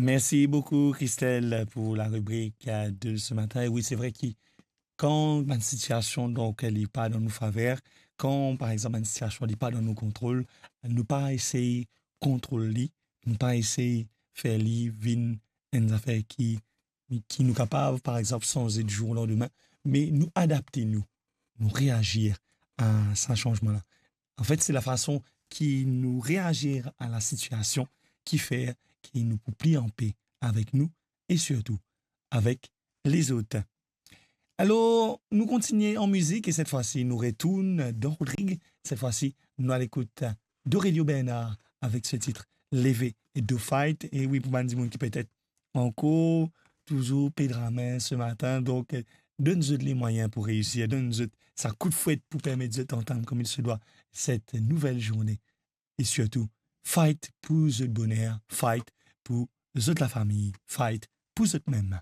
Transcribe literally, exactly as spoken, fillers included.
Merci beaucoup, Christelle, pour la rubrique, euh, de ce matin. Et oui, c'est vrai que quand une situation, donc, elle n'est pas dans nos faveurs, quand, par exemple, une situation n'est pas dans nos contrôles, nou pa esey kontrol li, nou pa esey fer li vinn enn zafer ki, ki nou kapav, par exemple, sanze du jour au lendemain, me nou adapte nou, nou reazir a sa sanzman la. Anfet, se lafason ki nou reazir a la sitiasion ki fer ki nou pou pli anpe avek nou e sirtou avek lezot. Alor, nou kontigne an mizik e set fwa si nou retourn dan Rodrig. Set fwa si nou al ekout Dorelio Bernard avek so tit Leve e Do Fight. E wi, pou bann dimoun ki petet ankor touzour pe dramin se matin, donk, eh, donn zot lemwayin pou reisir, donn zot sa kout fwet pou permet zot antam kouma se dwa set nouvel zourne. E sirtou, fight pou zot boner, fight pou zot lafami, fight pou zot mem.